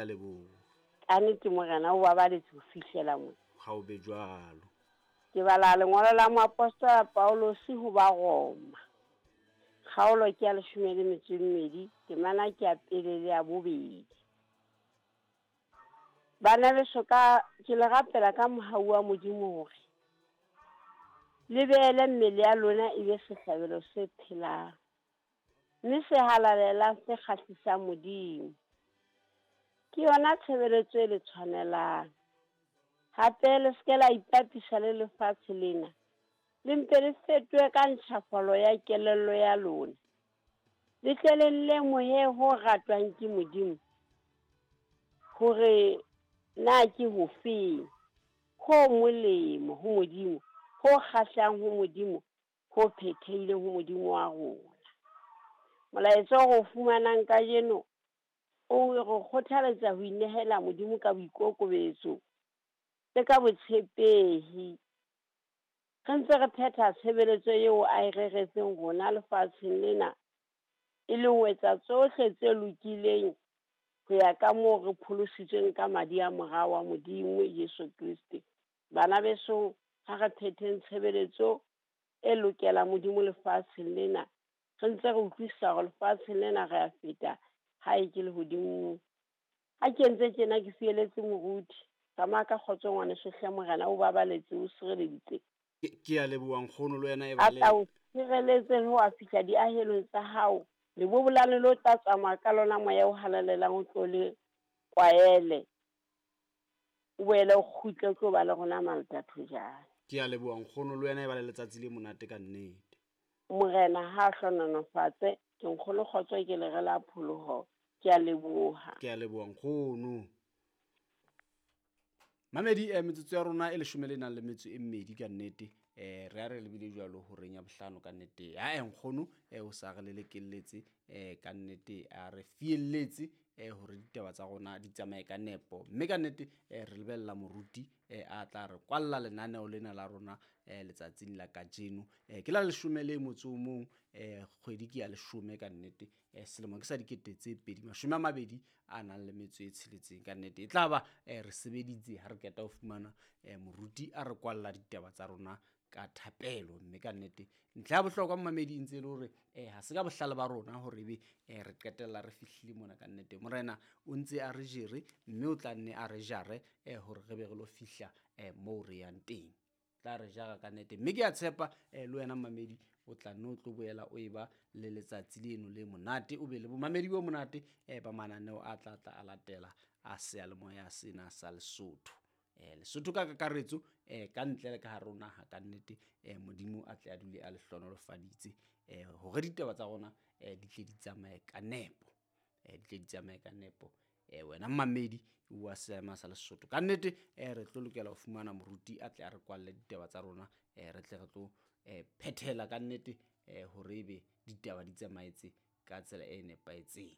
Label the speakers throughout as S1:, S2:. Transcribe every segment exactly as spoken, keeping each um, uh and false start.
S1: A leboha.
S2: Ka nnete Morena o babaletse ho fihlela mona.
S1: Ha o be jwalo.
S2: Ke bala lengolo la moapostola Paulus ho ba Roma. Kgaolo ke ya leshome le metso e mmedi, temana ke ya pele le ya bobedi. Bana beso ka ke le rapela ka mohau wa Modimo hore le beele mmele ya lona e be sehlabelo se phelang, mme se halalelang se kgahlisang Modimo. Ke yona tshebeletso e le tshwanelang. Hape le se ke la ipapisa le lefatshe lena, le mpe le fetohe ka ntjhafalo ya kelello ya lona. Le tle le lemohe ho ratwang ke Modimo, hore na ke hofeng ho molemo ho Modimo, ho kgahlang ho Modimo, ho phethehileng ho Modimo wa rona. Molaetsa o re o fumanang kajeno o re kgothaletsa ho inehela Modimo ka boikokobetso le ka botshepehi. Re ntse re phetha tshebeletso eo a e reretseng rona lefatsheng lena, e leng ho etsa tsohle tse lokileng ho ya ka moo re pholositsweng ka madi a Mora wa Modimo Jesu Kreste. Bana beso, ha re phetheng tshebeletso e lokelang Modimo lefatsheng lena, re ntse re utlwisisa hore lefatsheng lena re a feta, ha e ke lehodimong. Ha ke entse tjena ke fieletse moruti. Tsamaya ka kgotso ngwaneso hle, Morena o babaletse, o sireleditse.
S1: Ke a leboha nkgono, le wena e ba
S2: A
S1: le
S2: tla o sireletse le ho a fihla diahelong tsa hao. Lebobolane le o tla tsamaya ka lona moya o halalelang o tlo le kwaele. O boele o kgutle o tlo ba le rona Maltathojane.
S1: Ke a leboha nkgono, le wena e ba le letsatsi le monate ka nnete.
S2: Morena ha a hlohonolofatse. Ke nkgono kgotso ke le re la pholoho. Ke a leboha.
S1: Ke a leboha nkgono. Mamedi, eh, metsotso ya rona e leshome le nang le metso e mmedi ka nnete. Eh, re a re lebile jwalo horeng ya bohlano ka nnete. Ha e nkgono, eh, o sa re lelekelletse, eh, ka nnete a re fielletse, eh, hore ditaba tsa rona di tsamaye ka nepo. Mme ka nnete, eh, re lebella moruti, eh, a tla re kwalla lenaneo lena la rona, eh, letsatsing la kajeno. Eh, ke la leshome le motso o mong, eh, kgwedi ke ya leshome ka nnete. Eh, selemo ke sa dikete tse pedi, mashome a mabedi a nang le metso e tsheletseng ka nnete. E tla ba, eh, re sebeditse ha re qeta ho fumana, eh, moruti a re kwalla ditaba tsa rona ka thapelo. Mme ka nnete ntlha ya bohlokwa mamedi e ntse e le hore, eh, ha se ka bohlale ba rona hore ebe, eh, re qetella re fihlile mona ka nnete. Morena o ntse a re jere, mme o tla nne a re jare, eh, hore re be re lo fihla, eh, moo re yang teng. Tla re jara ka nnete. Mme ke a tshepa, eh, le wena mamedi o tla nne o tlo boela o eba le letsatsi leno le monate, o be le bomamedi bo monate, eh, ba mananeo a tla tla a latela a seyalemoya sena sa Lesotho. Eh, Lesotho ka kakaretso, eh, ka ntle le ka hare ho naha ka nnete, eh, Modimo a tle a dule a le hlohonolofaditse, eh, hore ditaba tsa rona, eh, di tle di tsamaye ka nepo. Eh, di tle di tsamaye ka nepo. Eh, wena mamedi wa seema sa Lesotho ka nnete, eh, re tlo lokela ho fumana moruti a tle a re kwalle ditaba tsa rona, eh, re tle re tlo, eh, phethela ka nnete, eh, hore ebe ditaba di tsamaetse ka tsela e nepahetseng.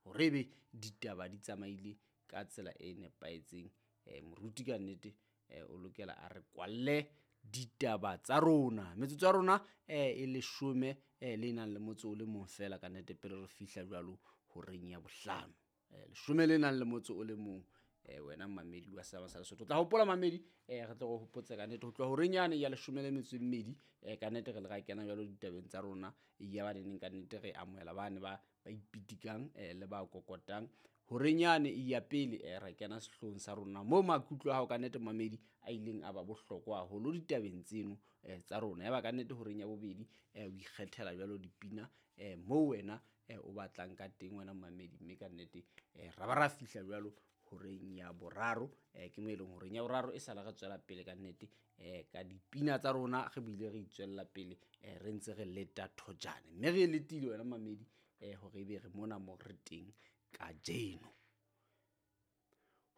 S1: Hore ebe ditaba di tsamaile ka tsela e nepahetseng. Eh, moruti ka nnete, eh, o lokela a re kwalle ditaba tsa rona. Metsotso ya rona, eh, e leshome, eh, le nang le motso o le mong feela ka nnete pele re fihla jwalo horeng ya bohlano. Eh, leshome le nang le motso o le mong, eh, wena mamedi wa Seema sa Lesotho. O tla hopola mamedi, eh, re tle re hopotse ka nnete ho tloha horeng yane ya leshome le metso e mmedi, eh, ka nnete re le ra kena jwalo ditabeng tsa rona. Ya ba neneng ka nnete re amohela bane ba, ba ipitikang, eh, le ba kokotang. Horeng yane e ya pele, eh, re kena sehloohong sa rona moo maikutlo a hao ka nnete mamedi a ileng a ba bohlokwa haholo ditabeng tseno, eh, tsa rona. Ya ba ka nnete horeng ya bobedi, eh, o ikgethela jwalo dipina, eh, moo wena, eh, o batlang ka teng wena mamedi. Mme ka nnete, eh, ra ba ra fihla jwalo horeng ya boraro, eh, ke mo e leng horeng ya boraro e sala re tswela pele ka nnete, eh, ka dipina tsa rona re bile re itswella pele, eh, re ntse re leta thojane. Mme re e letile wena mamedi, eh, hore ebe re mona mo re teng kajeno.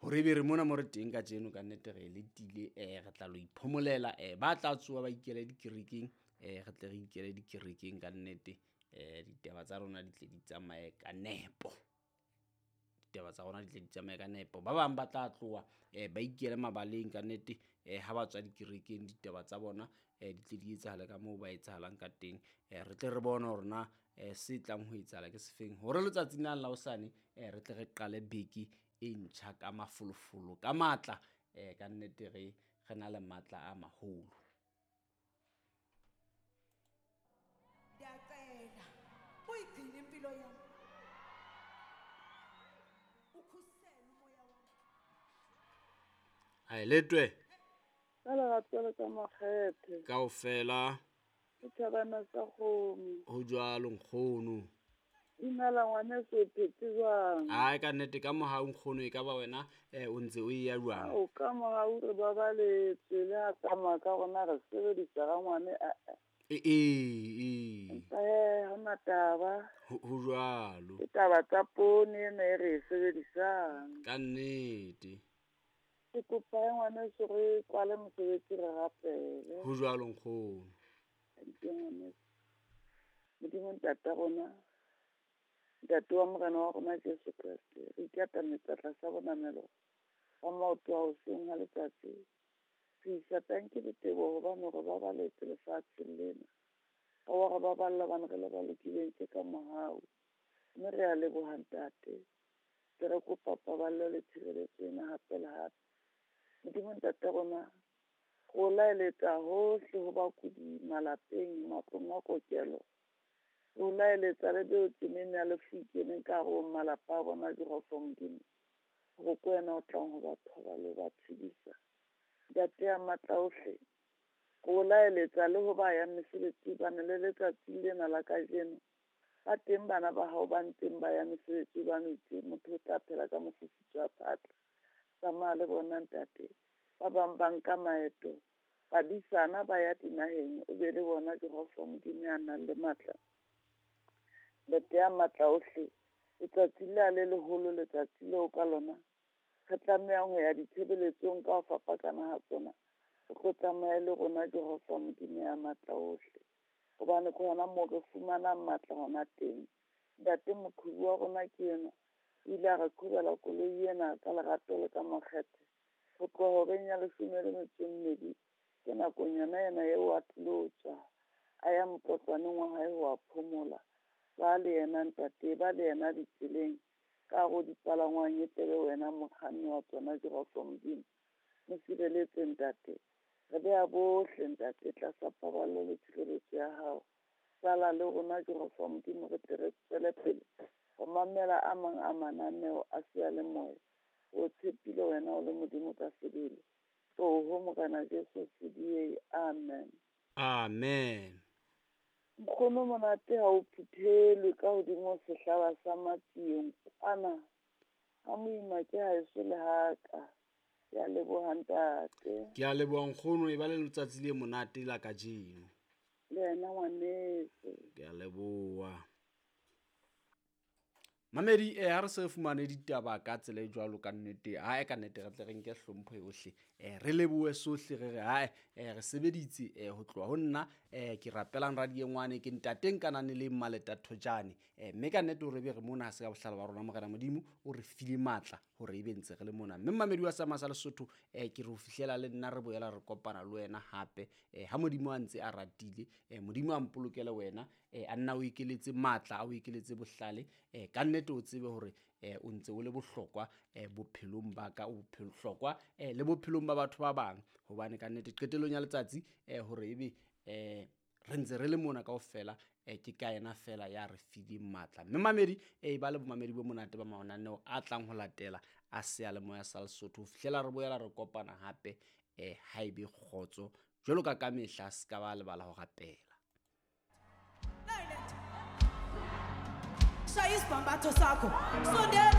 S1: Hore ebe re mona mo re teng kajeno ka nnete re letile, eh, re tla lo iphomolela, eh, ba tla tsoha ba ikele dikerekeng, eh, re tle re ikele dikerekeng ka nnete, eh, ditaba tsa rona di tle di tsamaye ka nepo. Ditaba tsa rona di tle di tsamaye ka nepo. Ba bang ba tla tloha, eh, ba ikele mabaleng ka nnete, eh, ha ba tswa dikerekeng ditaba tsa bona, eh, di tle di etsahale ka moo ba etsahalang ka teng. Eh, re tle re bone hore na, um se tlang ho etsahala ke sefeng hore letsatsing la la hosane um re tle re qale beke e ntjha ka mafolofolo ka matla um ka nnete re re na le matla a maholo.
S3: Ndiyacela uyigcine impilo yami. Ukhusele umoya wami.
S1: Ai letwe.
S4: Ka lerato le ka makgethe.
S1: Kaofela.
S4: Ke thabana sa kgomo.
S1: Ho jwalo nkgono.
S4: Dumela ngwaneso, o phetse jwang?
S1: Ai ka nnete ka mohau nkgono e ka ba wena eh o ntse o eya jwang?
S4: O ka mohau re babaletswe le ha tsamaya ka rona re sebedisa ga ngwane a a.
S1: E e e.
S4: Eh ha hona taba.
S1: Ho ho jwalo.
S4: Ke taba tsa poone ena e re e sebedisang.
S1: Ka nnete.
S4: Ke kopa ngwaneso re kwale mosebetsi re rapele.
S1: Ho jwalo nkgono.
S4: Ke ngwaneso. Modimo ntata rona. Ntate wa Morena wa rona Jesu Kreste, re ikatametsa tlasa bonamelo wa maoto a hoseng ha letsatsi. Re isa tanki le teboho hobane re babaletse lefatsheng lena. Ka wa re baballa hobane re le ba lokileng tje ka mohau. Mme re a leboha ntate. Ke re kopa paballo le tshireletso ena hape le hape. Modimo ntate rona, re o laeletsa hohle ho bakudi malapeng, matlong a kokelo. Re o laeletsa le beo tsemeng ya lefu keneng ka hare ho malapa a bona Jehova Modimo. Hore ke wena o tlang ho ba thoba le ho ba tshedisa. Ntate ya matla ohle, re o laeletsa le ho ba yang mesebetsi hobane le letsatsi lena la kajeno. Ba teng bana ba hao ba ntseng ba ya mesebetsi hobane o itse motho o tla phela ka mofufutso wa phatla. Tsamaya le bona ntate. Ba bang ba nka maeto, badisana ba ya dinaheng, o be le bona Jehova Modimo ya nang le matla. Ntate ya matla ohle, letsatsi lea le leholo, letsatsi leo ka lona re tlamehang ho ya ditshebeletsong ka ho fapakana ha tsona. O tlo tsamaya le rona Jehova Modimo ya matla ohle, hobane ke hona moo re fumanang matla hona teng. Ntate moqhobi wa rona ke enwa, o ile a re qhobela koloi ena ka lerato le ka makgethe. Ho tloha horeng ya leshome le metso e mmedi, ke nakong yona ena eo a tlilo tswa, a ya motlotlwaneng wa hae ho a phomola. Ba le yena ntate, ba le yena ditseleng, ka hare ho dipalangwang e tlebe wena mokganni wa tsona Jehova Modimo. Mo sireletse ntate. Re beha bohle ntate tlasa paballo le tshireletso ya hao. Sala le rona Jehova Modimo re tle re tswele pele ho mamela a mang a mananeo a seyalemoya. O tshepile wena o le Modimo ka sebele. Tloho Morena Jesu C D A. Amen.
S1: Amen.
S4: Nkgono monate ha o phuthelwe ka hodimo sehlaba sa matsieng ana. Ha moima ke haeso le haka. Ke a leboha ntate.
S1: Ke a leboha nkgono, e ba le letsatsi le monate la kajeno.
S4: Le wena ngwaneso.
S1: Ke a leboha. Mamedi eh ha re se fumane ditaba ka tsela e jwalo ka nnete, ha e ka nnete re tle re nke hlompho yohle. Eh re lebohe sohle re re ha eh re sebeditse eh ho tloha ho nna eh ke rapelang radiengwane ke ntateng kanane le Mmaleta Thojane. Eh mme ka nnete hore be re mona ha se ka bohlale ba rona Morena Modimo o re file matla hore ebe ntse re le mona. Mme mamedi wa Sama sa Lesotho eh ke re ho fihlela le nna re boela re kopana le wena hape eh ha Modimo a ntse a ratile eh Modimo a mpolokele wena eh a nna o ikeletse matla a o ikeletse bohlale eh ka nnete o tsebe hore eh o ntse o le bohlokwa eh bophelong ba ka o bohlokwa eh le bophelong ba batho ba bang hobane ka nnete qetellong ya letsatsi eh hore ebe eh re ntse re le mona kaofela eh ke ka yena fela ya re fileng matla. Mme mamedi eh ba le bomamedi bo monate ba mananeo a tlang ho latela a seyalemoya sa Lesotho ho fihlela re boela re kopana hape eh ha ebe kgotso jwalo ka ka mehla se ka ba lebala ho rapela.
S3: Shaya isibhambatho sakho. Sondela.